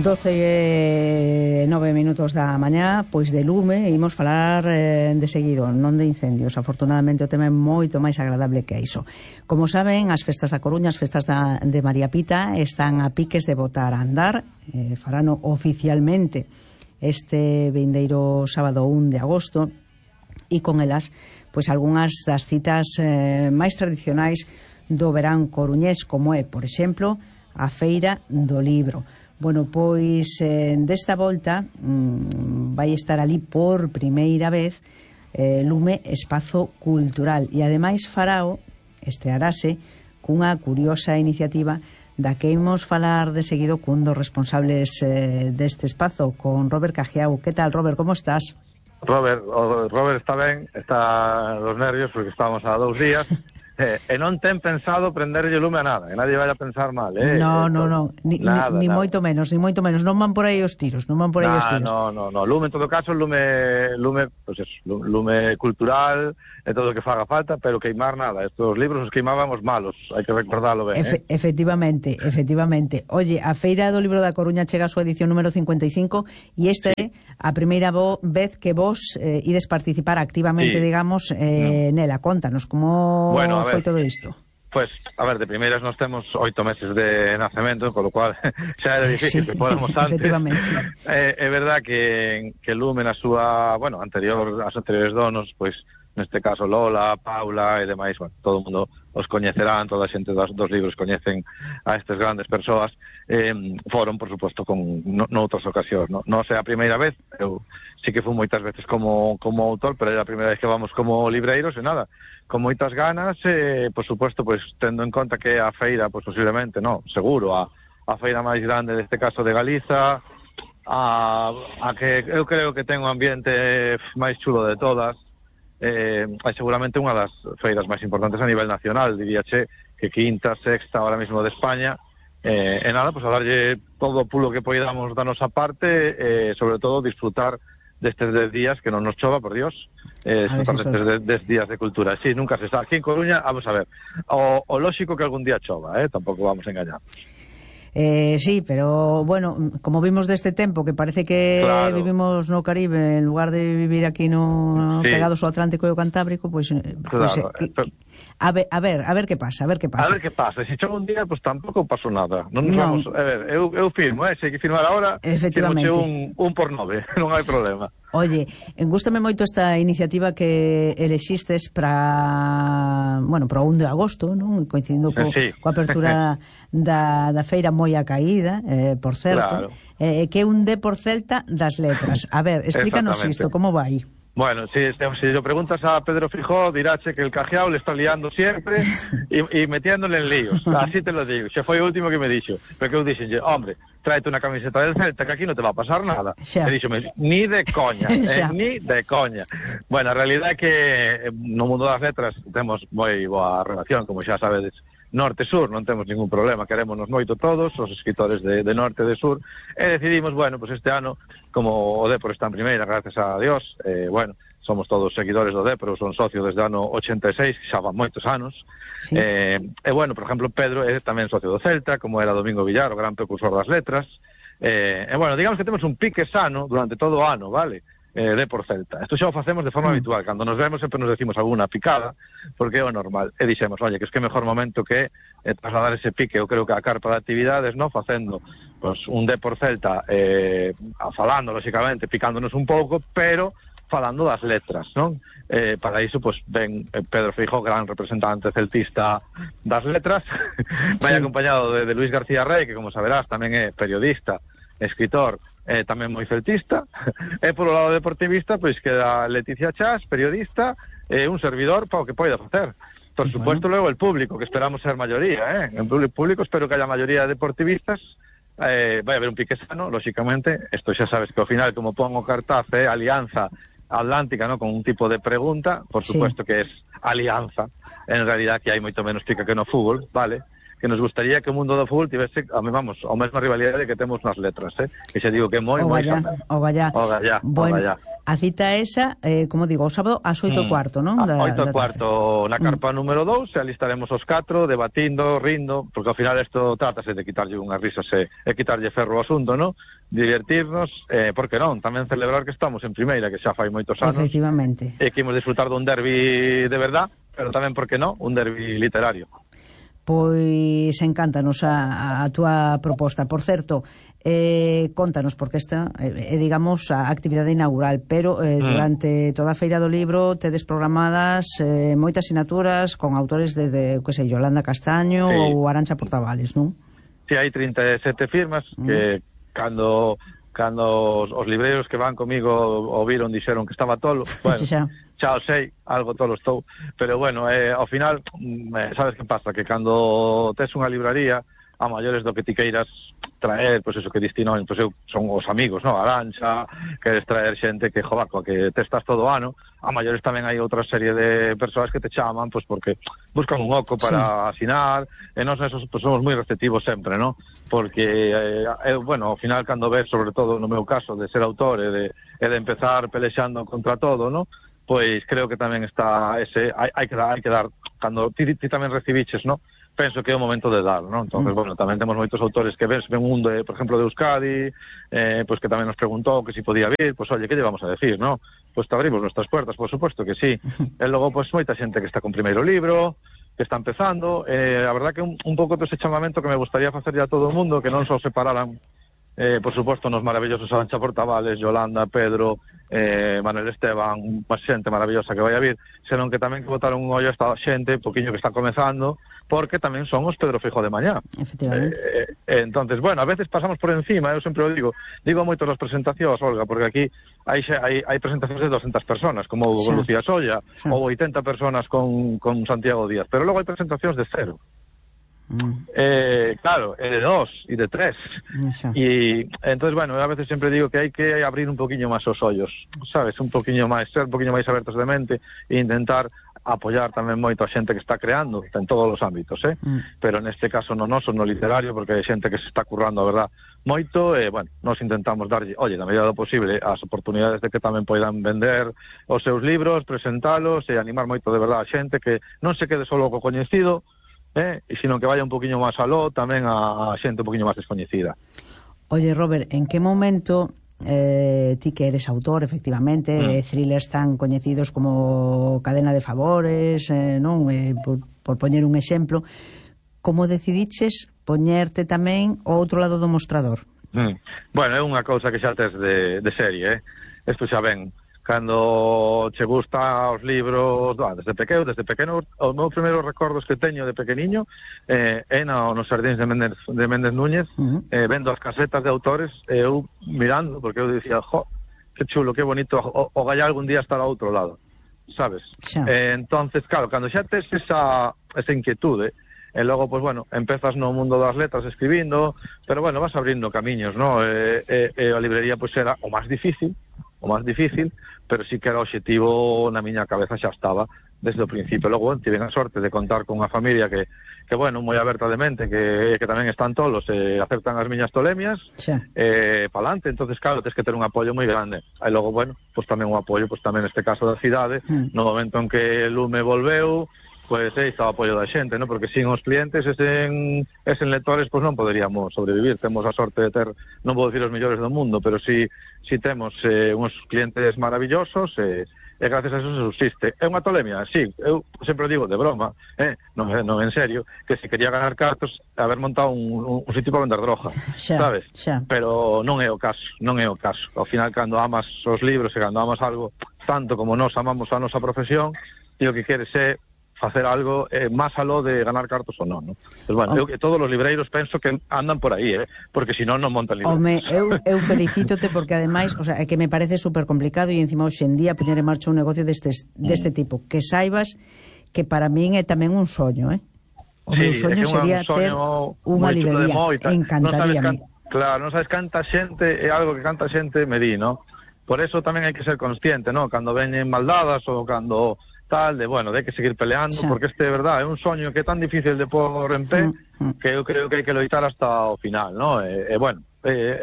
12:09 da mañá, pois de lume, imos falar de seguido, non de incendios. Afortunadamente o tema é moito máis agradable que iso. Como saben, as festas da Coruña, as festas de María Pita, están a piques de botar a andar. Farano oficialmente este vindeiro sábado 1 de agosto, e con elas, pois algunhas das citas máis tradicionais do verán coruñés, como é, por exemplo, a Feira do Libro. Bueno, pois desta volta vai estar ali por primeira vez Lume Espazo Cultural, e ademais farao estrearase cunha curiosa iniciativa da que imos falar de seguido cun dos responsables deste espazo, con Robert Cajiao. Que tal, Robert, como estás? Robert está ben, está los nervios porque estamos a 2 días. E non ten pensado prenderlle lume a nada, e nadie vai a pensar mal, No, ni moito menos, non van por aí os tiros, No, lume en todo caso, lume cultural, e todo o que faga falta, pero queimar nada. Estos libros os queimábamos malos, hai que recordarlo ben. Efectivamente. Oye, a Feira do Libro da Coruña chega a súa edición número 55, e esta é a primeira vez que vos ides participar activamente, digamos, nela. Contanos, como foi todo isto? Pues, a ver, de primeiras nós temos 8 meses de nacemento, con lo cual xa era difícil que podamos antes. Efectivamente. É verdad que Lume na súa, as anteriores donos, pois, neste caso Lola, Paula e demais, todo o mundo os coñecerán, toda a xente dos libros coñecen a estas grandes persoas, foron, por suposto, noutras ocasións, non sei a primeira vez, eu sí que fui moitas veces como autor, pero é a primeira vez que vamos como libreiros, e nada, con moitas ganas, por suposto, pois, tendo en conta que a feira, pois, posiblemente, seguro, a feira máis grande deste caso de Galiza, a que eu creo que ten un ambiente máis chulo de todas, é seguramente unha das feiras máis importantes a nivel nacional, diríache que quinta, sexta ahora mismo de España, e nada, pues a darlle todo o pulo que poidamos da nosa parte, sobre todo disfrutar destes 10 días que non nos chova, por Dios, disfrutar destes 10 días de cultura. Sí, nunca se está. Aquí en Coruña, vamos a ver, o lóxico que algún día chova, tampouco vamos a engañar. Sí, pero bueno, como vimos deste tempo que parece que vivimos no Caribe en lugar de vivir aquí pegados ao Atlántico e ao Cantábrico, pois a ver que pasa. Se chova un día, pois tampouco pasou nada. Non nos vamos, a ver, eu firmo, se hai que firmar agora, firmoche un por 9, non hai problema. Oye, gústame moito esta iniciativa que elexistes para o 1 de agosto, non? Coincidindo coa apertura da feira moi a caída, por certo, que é un D por Celta das letras. A ver, explícanos isto, como vai? Bueno, si lo preguntas a Pedro Fijó, diráche que el Cajiao le está liando siempre y metiéndole en líos. Así te lo digo. Se foi o último que me dixo. Pero que eu dixenlle, hombre, tráete una camiseta del Celta que aquí no te va a pasar nada. E díxome, ni de coña, ni de coña. Bueno, a realidade é que no mundo das letras temos moi boa relación, como xa sabedes, norte-sur, non temos ningún problema, querémonos moito todos, os escritores de norte e de sur, e decidimos, este ano, como o Depor está en primeira, gracias a Dios, somos todos seguidores do Depor, son socio desde o ano 86, xa van moitos anos, por exemplo, Pedro é tamén socio do Celta, como era Domingo Villar, o gran precursor das letras, digamos que temos un pique sano durante todo o ano, vale? De por Celta. Isto xa o facemos de forma habitual. Cando nos vemos sempre nos decimos alguna picada, porque é o normal. E dixemos, oye, que é mejor momento que trasladar ese pique, eu creo que a carpa de actividades, facendo un de por Celta, falando, lóxicamente, picándonos un pouco, pero falando das letras, non? Para iso, ven Pedro Feijóo, gran representante celtista das letras, vai acompañado de Luis García Rey, que, como saberás, tamén é periodista, escritor, tamén moi celtista, e polo lado deportivista queda Leticia Chas, periodista, un servidor para o que poida facer. Por supuesto, logo el público, que esperamos ser maioría, en público espero que haya maioría de deportivistas, vai haber un pique sano, lóxicamente, isto xa sabes que ao final, como pon o cartaz, Alianza Atlántica, con un tipo de pregunta, por supuesto que es alianza, en realidad que hai moito menos pica que no fútbol, vale? Que nos gustaría que o mundo do fútbol tivese, a mesma rivalidade que temos nas letras, que xa digo que é moi o gallá. Bueno, A cita esa, como digo, o sábado ás 8:15, non? 8:15 na carpa número 2, e ali estaremos os 4 debatindo, rindo, porque ao final isto trátase de quitarlle unhas risas e quitarlle ferro ao asunto, non? Divertirnos, porque non, tamén celebrar que estamos en primeira, que xa fai moitos anos. Efectivamente. E que imos disfrutar dun derbi de verdad, pero tamén, porque non, un derbi literario. Pois encántanos a túa proposta. Por certo, contanos, porque esta é, digamos, a actividade inaugural, pero durante toda a Feira do Libro tedes programadas moitas sinaturas con autores desde, que sei, Yolanda Castaño ou Arantxa Portavales, non? Sí, hai 37 firmas que cando os libreiros que van comigo o viron, dixeron que estaba tolo. Bueno, xa o sei, algo tolo estou, pero bueno, ao final, sabes que pasa? Que cando tes unha libraría, a maiores do que ti queiras traer, pois eso que distino, pois eu son os amigos, no? Arantxa, queres traer xente que, joder, coa que te estás todo o ano, a maiores tamén hai outra serie de persoas que te chaman, pois porque buscan un oco para asinar, e nós esos pues, somos moi receptivos sempre, no? Porque, bueno, ao final, cando ves, sobre todo no meu caso, de ser autor e de empezar pelexando contra todo, no? Pois creo que tamén está ese, hai que dar, cando ti tamén recibiches, no? Penso que é o momento de dar, non? Entonces, bueno, tamén temos moitos autores que ven un mundo, por exemplo, de Euskadi, pois que tamén nos preguntou que si podía vir, pois, oye, que lle vamos a decir, non? Pois te abrimos nuestras puertas, por supuesto que sí. E logo, pois, moita xente que está con primeiro libro, que está empezando, a verdad que un pouco ese chamamento que me gustaría facer a todo o mundo, que non só separaran, por suposto, nos maravillosos Arantxa Portavales, Yolanda, Pedro, Manuel Esteban, unha xente maravillosa que vai a vir, senón que tamén que botaron un ollo a esta xente, poquinho que está comezando, porque tamén son os Pedro Feijóo de mañá. Efectivamente. Entonces, bueno, a veces pasamos por encima, eu sempre o digo moito nas presentacións, Olga, porque aquí hai presentacións de 200 personas, como con Lucía Solla, ou 80 personas con Santiago Díaz, pero logo hai presentacións de 0. Claro, de 2 e de 3 e entonces, bueno, a veces sempre digo que hai que abrir un poquinho máis os ollos, sabes, un poquinho máis, ser un poquinho máis abertos de mente e intentar apoiar tamén moito a xente que está creando en todos os ámbitos, pero neste caso no noso, no literario, porque hai xente que se está currando, a verdad, moito, e, bueno, nos intentamos darlle, oye, na medida do posible, as oportunidades de que tamén poidan vender os seus libros, presentalos e animar moito de verdad a xente que non se quede solo co coñecido, e sino que vaya un poquinho máis aló tamén a xente un poquinho máis descoñecida. Oye, Robert, en que momento ti que eres autor, efectivamente, thrillers tan coñecidos como Cadena de Favores, non? Por poñer un exemplo, como decidiches poñerte tamén ao outro lado do mostrador? Bueno, é unha cousa que xa tes de serie, Isto xa ven. Cando che gusta os libros, desde pequeno, os meus primeiros recordos que teño de pequeniño é nos xardíns de Méndez Núñez, vendo as casetas de autores, eu mirando, porque eu dicía, que chulo, que bonito, o gallá algún día estar ao outro lado, sabes? Entonces, claro, cando xa tes esa inquietude, e logo, pues bueno, empezas no mundo das letras escribindo, pero bueno, vas abrindo camiños, ¿no? A librería, pues era o máis difícil, pero sí que era o obxectivo na miña cabeza, xa estaba desde o principio. Logo, tive a sorte de contar con unha familia que bueno, moi aberta de mente, que tamén están tolos e aceptan as miñas tolemias, pa'lante. Entonces, claro, tens que ter un apoio moi grande. E logo, bueno, pues tamén un apoio, pues tamén neste caso da cidade, no momento en que Lume volveu, pues está o apoio da xente, ¿no? Porque sin os clientes e sen lectores, pues non poderíamos sobrevivir. Temos a sorte de ter, non vou dicir os mellores do mundo, pero si temos uns clientes maravillosos e gracias a eso se subsiste. É unha tolemia? Sí, eu sempre digo de broma, non en serio, que se quería ganar cartos haber montado un sitio para vender droga, sabes? Pero non é o caso. Ao final, cando amas os libros e cando amas algo tanto como nós amamos a nosa profesión, e o que queres é facer algo máis aló de ganar cartos ou non, non? Pues, bueno, todos os libreiros penso que andan por aí, porque senón non montan libros. Home, eu felicítote porque ademais, o sea, é que me parece super complicado e encima hoxe en día poñer en marcha un negocio deste tipo, que saibas que para min é tamén un soño, O meu soño sería ter unha librería, encantaríame. Claro, non sabes canta xente, é algo que canta xente me di, non? Por eso tamén hai que ser consciente, non? Cando veñen maldadas ou cando tal, de que seguir peleando, porque é verdade, é un soño que é tan difícil de pôr en pé, que eu creo que hai que loitar hasta o final, ¿no? Bueno,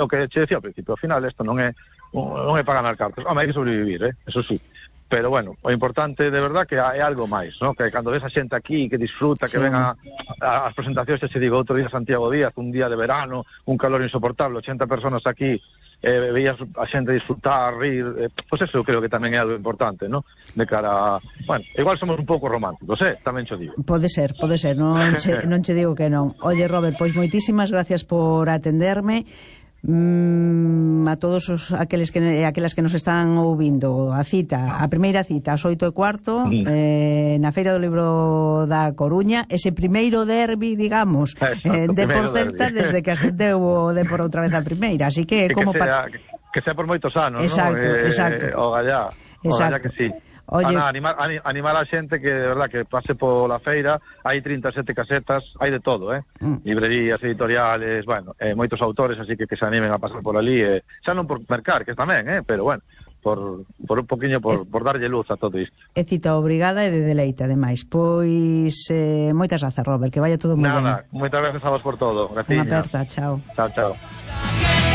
o que che decía ao principio, ao final isto non é non é para ganar cartas. Home, hai que sobrevivir, eso sí. Pero bueno, o importante de verdad que é algo máis, ¿no? Que cando ves a xente aquí que disfruta, que ven as presentacións, se digo, outro día Santiago Díaz, un día de verano, un calor insoportable, 80 personas aquí, veías a xente disfrutar, rir, pues eso creo que tamén é algo importante, ¿no? De cara a... Bueno, igual somos un pouco románticos, tamén cho digo. Pode ser, non che digo que non. Oye, Robert, pois moitísimas gracias por atenderme. A todos aquelas que nos están ouvindo, a primeira cita ás 8:15 na Feira do Libro da Coruña, ese primeiro derbi, digamos, de Porcelta desde que ascendeu o Depor outra vez a primeira, así que que sea por moitos anos, exacto, ¿no? Exacto. O gallá que sí. Oye, animar a xente que de verdad que pase pola feira, hai 37 casetas, hai de todo, librerías, editoriales, bueno, moitos autores, así que se animen a pasar por ali, xa non por mercar, que tamén, pero bueno, por un poquinho por darlle luz a todo isto. É cita obrigada e de deleite, ademais. Pois moitas grazas, Robert, que vaya todo moi ben. Nada, moitas gracias a vos por todo. Graciña. Unha aperta, chao. Chao.